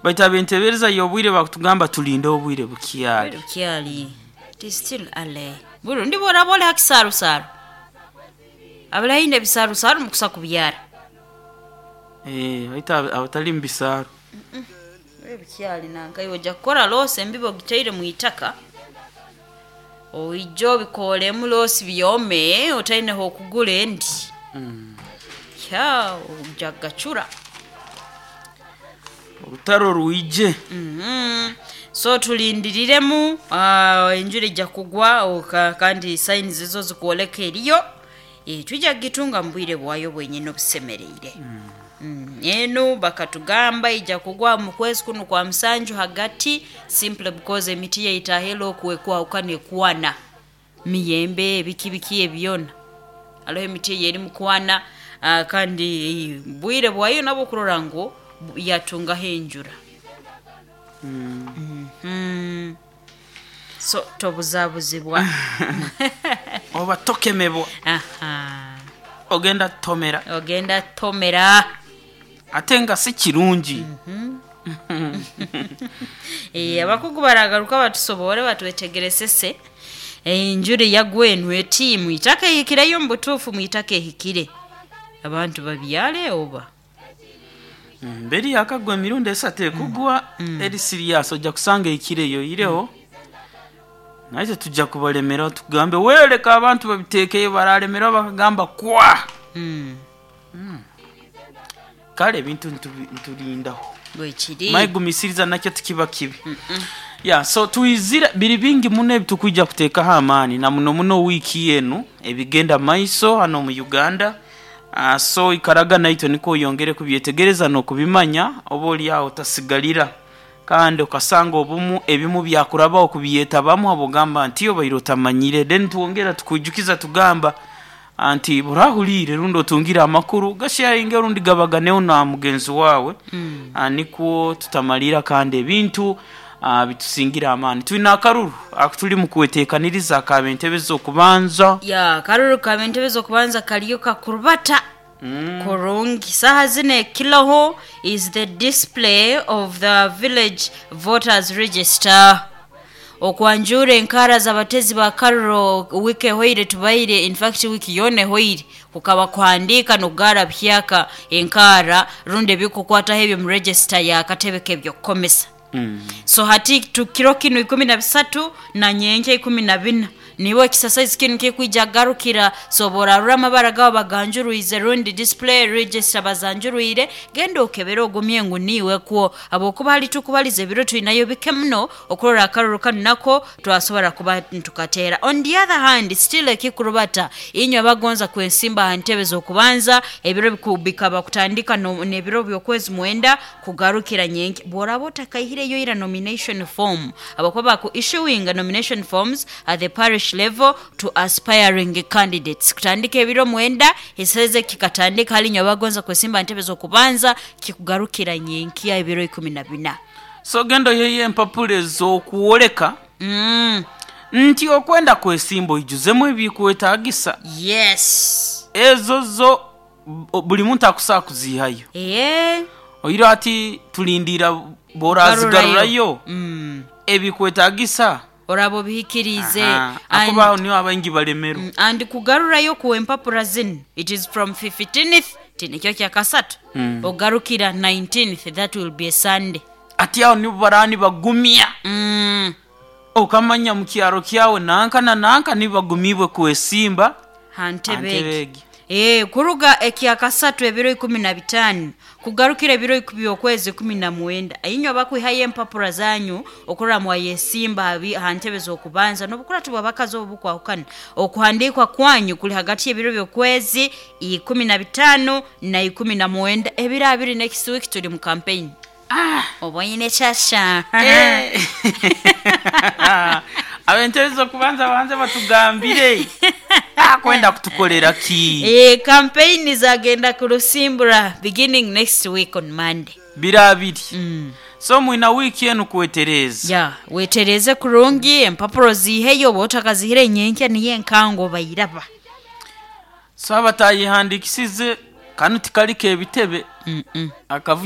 Baitu ab'entebeereza y'obwire bakutugamba tulinde obwire bukyali. Obwire bukyali. It is still early. Burundi bworaba ori ha kisaarusaru, abari haihi n'ebisaarusaru mukusa kubyara. Eh, baitu abatali mu bisaaru. Obwire bukyali nanka iwe oja kukora loosi embibo ogitaire mu itaka, oije obikooremu loosi byome otaine h'okugura endi. Ya oja kugacura. Orutaro rwije. So tulindiriremu enjura eija kugwa kandi signs zo zikwoleka eriyo, twija kugitunga mu bwire bwayo bwenyini obusemereire. Enu bakatugamba eija kugwa mu kwezi kunu kwa musanju hagati simply because emiti yaitu ahela okwo ekwahukana ekwana, miyembe biki biki ebyo byona. Haroho emiti ey'erimu kwana kandi bwire bwayo nabwo kurora ngu yatungaho enjura. So tobuzabuzibwa. Oba tokemebwa. Aha. Ogenda tomera. Ogenda tomera. Ate nga si kirungi. Abakugu baragaruka batusoboore batwetegeresese enjura eyagwa enu eti mwitaka ehikireyo mu butuufu mwitaka ehikire abantu babyare oba? Mberi yakagwa emirundi esatu ekugwa eri siriasi oja kusanga eikireyo oihireho naitwe tuja kubalemeraho tugambe we leka abantu babiteekeyo baralemererwa bakagamba kwa! Kale ebintu niturindaho. Bwekiri. Manya gumisiriza nakyo tikiba kibi. Ya so twizire biri bingi muno ebitukwija kuteekaho amaani na muno muno wiiki enu ebigenda mumaiso hanu omu Uganda. So ikaraga naitwe nikwo oyongere kubyetegereza n'okubimanya oba ori aho otasigarira kandi okasanga obumu ebimu byakurabaho kubyetabamu habw'ogamba nti obaire otamanyire. Then twongera tukwijukiza tugamba nti bw'orahuriire rundi otungire amakuru gasheyaringe rundi gabaganeho na mugenzi waawe nikwo tutamariira kandi ebintu bitusingire amaani. Twine akaruru aku turimu kweteekaniriza akaba entebe z'okubanza. Ya, akaruru kaba entebe z'okubanza kariyo kakurubata kurungi. Saaha zinu ekiroho is the display of the village voters register. Okwanjuura enkaara z'abateezi ba karuro wiiki ehweire tubaire in fact wiiki yoona ehweire kukaba kuhandiika n'okugaara buhyaka enkaara rundi ebikukwataho eby'omu register y'akatebe k'eby'okukomesa. So hati kiro kinu 13 na nyenkya 14 niiwe exercise kinu kikwija kugarukira. So obu orarora amabara gaawe baganjurwize rundi display register bazanjurwire, genda okebere ogumye ngu niiwe kwo habwokuba hali tukubaliza ebiro twinayo bike muno okurora akaruru kanu nako twasobora kuba nitukateera. On the other hand still ekikurubata inywe abagonza kwesimba ha ntebe z'okubanza ebiro bikaba kutandika n'ebiro by'okwezi mwenda kugarukira nyenkya. Bw'oraaba otakaihireyo ira nomination form habwokuba baku issuinga nomination forms at the parish level to aspiring candidates kutandika ebiro mwenda ekiseze kikatandika hali inywe abagonza kwesimba ha ntebe z'okubanza kikugarukira nyenkya ebiro 14. So genda oiheyo empapura ez'okwoleka nti okwenda kwesimba oijuzemu ebikwetagisa. Yes. Ezo zo buli muntu akusobola kuziihayo. Eeh. Oihireho hati tulindiira bw'orazigarurayo ebikwetagisa. Oraaba obihikiriize. Ahakuba aho niho abaingi balemerwa. And kugarurayo ku empapura zinu it is from 15th ti nikyo kyakasatu ogarukira 19th that will be a Sunday. Hati aho nibo baraaba nibagumya. Okamanya mu kyaro kyawe nanka na nanka nibo bagumiibwe kwesimba Ha ntebe ha ntebe egi. egi. Ee, kuruga ekyakasatu ebiro 15 kugarukira ebiro by'okwezi 19, inywe abakwihayo empapura zanyu okurora mwayesimba ha ntebe z'okubanza n'obukuratu bw'abakazi obu bukwahukana, okuhandiikwa kwanyu kuli hagati y'ebiro by'okwezi 15 na 19. Ebiro abiri next week turi mu campaign. Oboine kyasha. Ab'entebe z'okubanza banze batugambire akwenda kutukorera ki? Campaign zagenda kurusimbura beginning next week on Monday. Biro abiri. So mwina wiiki enu kwetereeza. Ya, wetereeze kurungi, empapura oziiheyo, oba otakaziihireyo nyenkya niyo enkango obairaba. So abatayehandikisize kanu tikali k'ebitebe. Akavuyo.